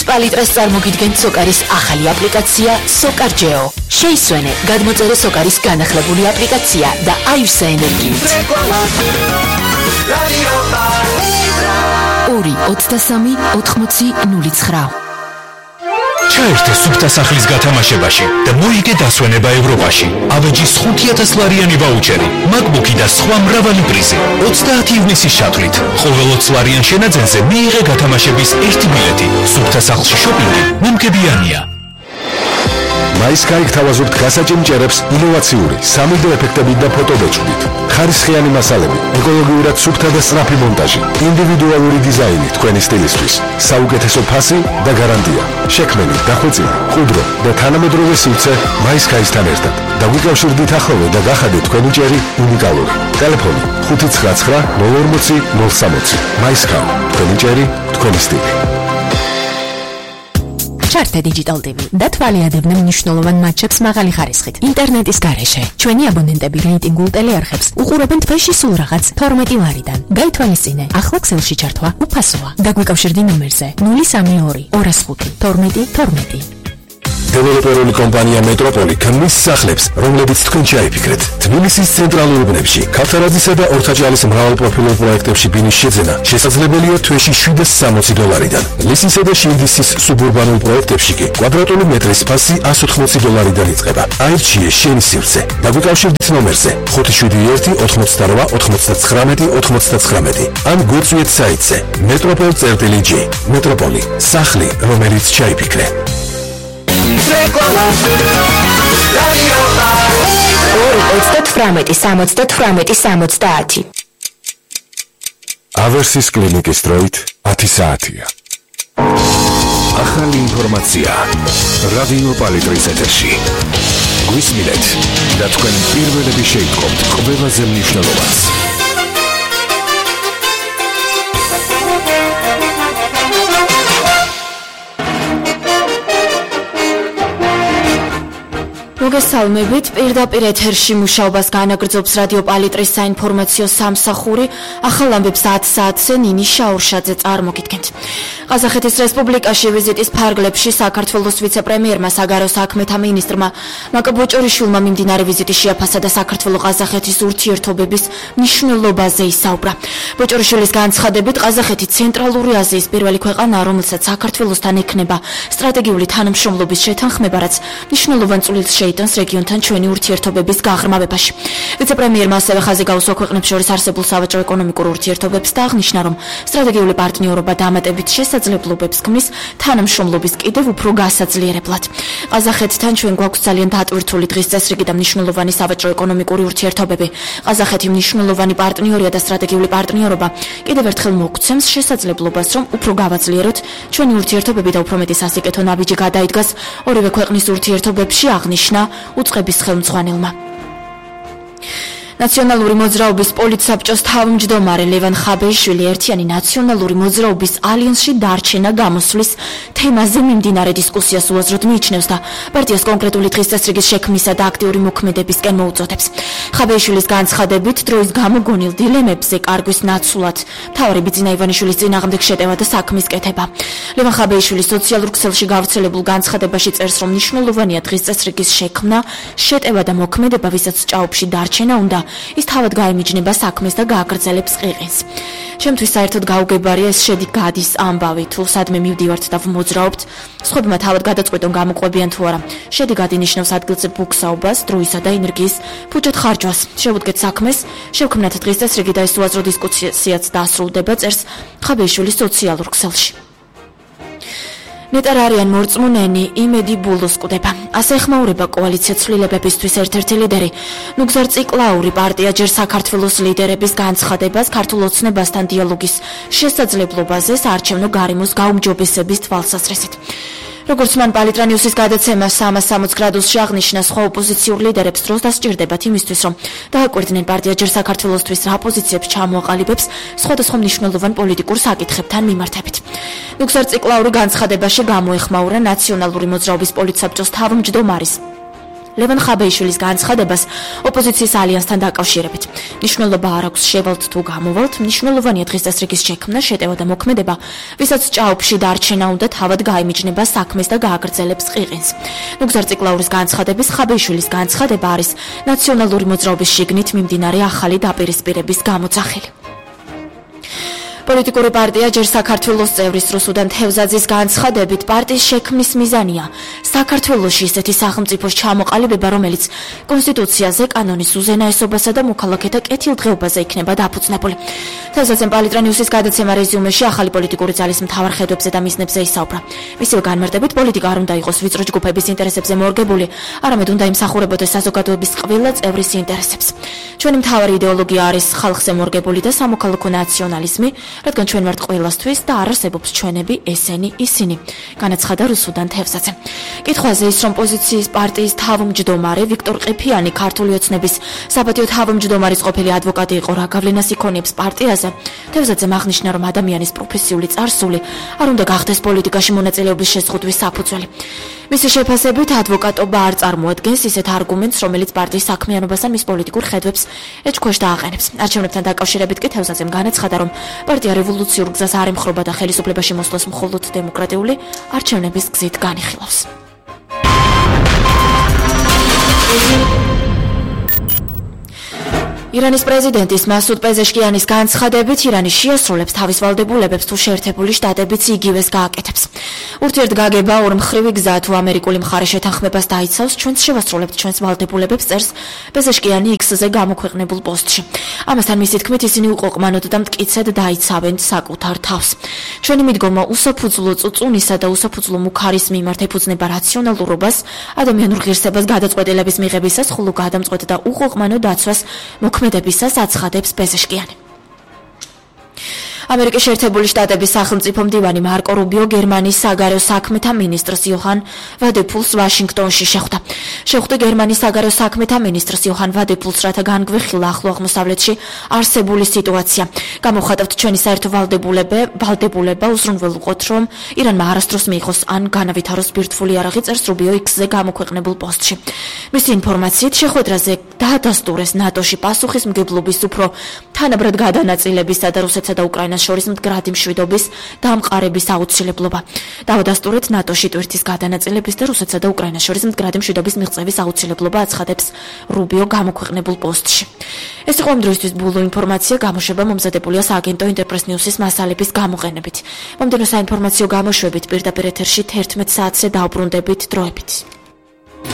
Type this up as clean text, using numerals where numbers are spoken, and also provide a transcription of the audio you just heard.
პალიტრას წარმოგიდგენთ სოკარის ახალი აპლიკაცია SOCAR-GEO. შეისვენე, გადმოწერე სოკარის განახლებული აპლიკაცია და აივსე ენერგიით. 2-23-80-09. ჩაერთე სუფთა სახლის გათამაშებაში და მოიგე დასვენება ევროპაში. ავეჯის 5,000 ლარიანი ვაუჩერი, MacBook-ი და სხვა მრავალი პრიზი. 30 ივნისის ჩათვლით. ყოველ 20 ლარიან შენაძენზე მიიღე გათამაშების 1 ბილეთი. სუფთა სახლში შოპინგი მემგებიანია. მაისკაი გთავაზობთ გასაჭიმჭერებს ინოვაციური 3D ეფექტებით და ფოტობეჭდით. ხარისხიანი მასალები, ეკოლოგიურად სუფთა და სწრაფი მონტაჟი, ინდივიდუალური დიზაინი თქვენი სტილისთვის, საუკეთესო ფასი და გარანტია. შექმენი, დახვეწილი, მყუდრო და თანამედროვე სივრცე მაისკაისთან ერთად. დაგვიკავშირდით ახლოვე და გახადეთ თქვენი ჭერი უნიკალური. ტელეფონი 599-040-060. მაისკაი, თქვენი ჭერი, თქვენი სტილი. ჩართე Digital TV და თვალიადებდნენ მნიშვნელოვან მატჩებს მაღალი ხარისხით. ინტერნეტის გარეშე ჩვენი აბონენტები რეიტინგულ ტელეარხებს უყურებენ თვეში სულ რაღაც 12 ლარიდან. გაითვალისწინე, ახლა ქსელში ჩართვა უფასოა. დაგვიკავშირდი ნომერზე 032 205 12 12. დეველოპერული კომპანია მეტროპოლი ქმნის სახლებს, რომლებიც თქვენ ჩაიფიქრეთ. თბილისის ცენტრალურ უბნებში, ქავთარაძისა და ორთაჭალის მრავალპროფილურ პროექტებში ბინის შეძენა შესაძლებელია თვეში $760-დან. ლისისა და შილდისის სუბურბანულ პროექტებში კი კვადრატული მეტრის ფასი $180-დან იწყება. აირჩიე შენი სივრცე. დაგვიკავშირდით ნომერზე 571-99-99. ან გვიწვიეთ საიტზე metropol.j. მეტროპოლი, სახლი, რომელიც ჩაიფიქრე. 2-18-70-70. ავერსის კლინიკის დროით 10 საათია. ახალი ინფორმაცია რადიო პალიტრის ეთერში. გვისმინეთ და თქვენ პირველები შეიტყობთ ყველაზე მნიშვნელოვანს. მოგესალმებით, პირდაპირ ეთერში მუშაობას განაგრძობს რადიო პალიტრის საინფორმაციო სამსახური. ახალ ამბებს 10 საათზე ნინი შაურშაძე წარმოგიდგენთ. ყაზახეთის რესპუბლიკაში ვიზიტის ფარგლებში საქართველოს ვიცე-პრემიერმა საგარეო საქმეთა მინისტრმა მაკა ბოჭორიშვილმა მიმდინარე ვიზიტი შეაფასა და საქართველო-ყაზახეთის ურთიერთობების მნიშვნელობაზე ისაუბრა. ბოჭორიშვილის განცხადებით, ყაზახეთი ცენტრალური აზიის პირველი ქვეყანაა, რომელსაც საქართველოსთან ექნება სტრატეგიული თანამშრომლობის შეთანხმება, რაც მნიშვნელოვან წვლილს შეიტანს რეგიონთან ჩვენი ურთიერთობების გაღრმავებაში. ვიცე-პრემიერმა ასევე ხაზი გაუსვა ქვეყნებს შორის არსებულ სავაჭრო-ეკონომიკურ ურთიერთობებს და აღნიშნა, რომ სტრატეგიული პარტნიორობა დამატებით შესაძლებლობებს ქმნის თანამშრომლობის კიდევ უფრო გასაძლიერებლად. ყაზახეთთან ჩვენ გვაქვს ძალიან დატვირთული დღის წესრიგი და მნიშვნელოვანი სავაჭრო-ეკონომიკური ურთიერთობები. ყაზახეთი მნიშვნელოვანი პარტნიორია და სტრატეგიული პარტნიორობა კიდევ ერთხელ მოგცემს შესაძლებლობას, რომ უფრო გავაძლიეროთ ჩვენი ურთიერთობები და უფრო მეტი სასიკეთო ნაბიჯი გადაიდგას ორივე ქვეყნის ურთიერთობებში, აღნიშნა უწყების ხელმძღვანელმა. ნაციონალური მოძრაობის პოლიტსაბჭოს თავმჯდომარე ლევან ხაბეიშვილი ერთიანი ნაციონალური მოძრაობის ალიანსში დარჩენა გამოსვლის თემაზე მიმდინარე დისკუსიას უაზროდ მიიჩნევს და პარტიას კონკრეტული დღის წესრიგის შექმნისა და აქტიური მოქმედებისკენ მოუწოდებს. ხაბეიშვილის განცხადებით, დროის გამოგონილ დილემებზე კარგვის ნაცვლად მთავარი ბიძინა ივანიშვილის წინააღმდეგ შეტევა და საქმის კეთება. ლევან ხაბეიშვილი სოციალურ ქსელში გავრცელებულ განცხადებაში წერს, რომ მნიშვნელოვანია დღის წესრიგის შექმნა, შეტევა და მოქმედება, ვისაც ჭაობში დარჩენა უნდა, ის თავად გაემიჯნება საქმეს და გააგრძელებს ყიყინს. ჩემთვის საერთოდ გაუგებარია ეს შედი-გადის ამბავი, თუ სადმე მივდივართ და ვმოძრაობთ, სხვებმა თავად გადაწყვეტონ გამოყვებიან თუ არა. შედი-გადი ნიშნავს ადგილზე ბუქსაობას, დროისა და ენერგიის ფუჭად ხარჯვას. შევუდგეთ საქმეს, შევქმნათ დღის წესრიგი და ეს უაზრო დისკუსიაც დაასრულდება, წერს ხაბეიშვილის სოციალურ ქსელში. ნეტარ არიან მორწმუნენი იმედი ბულოს კვდება. ასე ეხმაურება კოალიცია ცვლილებებისთვის ერთ-ერთი ლიდერი. ნუგზარ ციკლაური პარტია ჯერ საქართველოს ლიდერების განცხადებას ქართულ ოცნებასთან დიალოგის შესაძლებლობაზე საარჩევნო გარემოს გაუმჯობესების თვალსაზრისით. როგორც მან პალიტრა ნიუსის გადაცემა 360 გრადუსში აღნიშნა, სხვა ოპოზიციურ ლიდერებს დროს დასჭირდებათ იმისთვის, რომ დააკვირდნენ პარტია ჯერ საქართველოსთვის რა პოზიციებს ჩამოაყალიბებს სხვადასხვა მნიშვნელოვან პოლიტიკურ საკითხებთან მიმართებით. ნუგზარ ციკლაური განცხადებაში გამოეხმაურა ნაციონალური მოძრაობის პოლიტსაბჭოს თავმჯდომარის ლევან ხაბეიშვილის განცხადებას ოპოზიციის ალიანსთან დაკავშირებით. მნიშვნელობა არ აქვს შევალთ თუ გამოვალთ, მნიშვნელოვანია დღის წესრიგის შექმნა, შეტევა და მოქმედება, ვისაც ჭაობში დარჩენა უნდა თავად გაიმიჯნება საქმეს და გააგრძელებს ყიყინს. ნუგზარ ციკლაურის განცხადების ხაბეიშვილის განცხადება არის ნაციონალური მოძრაობის შიგნით მიმდინარე ახალი დაპირისპირების გამოძახილი. პოლიტიკური პარტია ჯერ საქართველოს წევრის რუსუდან თევზაძის განცხადებით პარტიის შექმნის მიზანია საქართველოში ისეთი სახელმწიფოს ჩამოყალიბება, რომელიც კონსტიტუციაზე, კანონის უზენაესობასა და მოქალაქეთა კეთილდღეობაზე იქნება დაფუძნებული. თევზაძემ პალიტრანიუსის გადაცემა რეზიუმეში ახალი პოლიტიკური ძალის მთავარ ხედვებზე და მიზნებზე ისაუბრა. მისივე განმარტებით, პოლიტიკა არ უნდა იყოს ვიწრო ჯგუფების ინტერესებზე მორგებული, არამედ უნდა იმსახურებოდეს საზოგადოების ყველა წევრის ინტერესებს. ჩვენი მთავარი იდეოლოგია არის ხალხზე მორგებული და სამოქალაქო ნაციონალიზმი, რადგან ჩვენ ვართ ყველასთვის და არ არსებობს ჩვენები, ესენი, ისინი, განაცხადა რუსუდან თევზაძე. კითხვაზე ის, რომ პოზიციის პარტიის თავმჯდომარე ვიქტორ ყიფიანი ქართული ოცნების საპატიო თავმჯდომარის ყოფილი ადვოკატი იყო, რა გავლენას იქონიებს პარტიაზე, თევზაძემ აღნიშნა, რომ ადამიანის პროფესიული წარსული არ უნდა გახდეს პოლიტიკაში მონაწილეობის შეზღუდვის საფუძველი. მისი შეფასებით, ადვოკატობა არ წარმოადგენს ისეთ არგუმენტს, რომელიც პარტიის საქმიანობას ან მის პოლიტიკურ ხედვებს ეჭქვეშ დააყენებს. არჩევნებთან დაკავშირებით კი თევზაძემ განაცხადა, რომ პარტია რევოლუციურ გზას არ ემხრობა და ხელისუფლებაში მოსვლას მხოლოდ დემოკრატიული არჩევნების გზით განიხილავს. ირანის პრეზიდენტის მასუდ პეზეშკიანის განცხადებით, ირანი შეასრულებს თავის ვალდებულებებს თუ შეერთებული შტატებიც იგივეს გააკეთებს. ურთიერთგაგება ორმხრივი გზა თუ ამერიკული მხარე შეთანხმებას დაიცავს, ჩვენც შევასრულებთ ჩვენს ვალდებულებებს, წერს პეზეშკიანი X-ზე გამოქვეყნებულ პოსტში. ამასთან მისი თქმით, ისინი უყოყმანოდ და მტკიცედ დაიცავენ საკუთარ თავს. ჩვენი მიდგომა უსაფუძვლო წუწუნისა და უსაფუძვლო მუქარის მიმართ ეფუძნება რაციონალურობას, ადამიანურ ღირსებას გადაწყვეტილების მიღებისას, ხოლო გადამწყვეტ და უყოყმანო დაცვას მოქმედებისას აცხადებს პეზეშკიანი. ამერიკის შეერთებული შტატების სახელმწიფო მდივანი მარკო რუბიო გერმანიის საგარეო საქმეთა მინისტრს იოჰან ვადეფულს ვაშინგტონში შეხვდა. შეხვდა გერმანიის საგარეო საქმეთა მინისტრს იოჰან ვადეფულს, რათა განგვეხილა ახლო აღმოსავლეთში არსებული სიტუაცია. გამოვხატავთ ჩვენი საერთო ვალდებულება, უზრუნველყოთ, რომ ირანმა არასდროს მიიღოს ან განავითაროს ბირთვული იარაღი, წერს რუბიო X-ზე გამოქვეყნებულ პოსტში. მისი ინფორმაციით, შეხვედრაზე დაადასტურეს ნატოში პასუხისმგებლობის უფრო თანაბრად გადანაწილებისა და რუსეთსა და უკრაინას შორის მდგრადი მშვიდობის დამყარების აუცილებლობა. დავადასტურეთ ნატოში ტვირთის გადანაწილების და რუსეთსა და უკრაინას შორის მდგრადი მშვიდობის მიღწევის აუცილებლობა, აცხადებს რუბიო გამოქვეყნებულ პოსტში. ეს იყო ამ დროისთვის ბოლო ინფორმაცია, გამოშვება მომზადებულია სააგენტო ინტერპრეს ნიუსის მასალების გამოყენებით. მომდევნო საინფორმაციო გამოშვებით პირდაპირ ეთერში 11 საათზე დავბრუნდებით დროებით.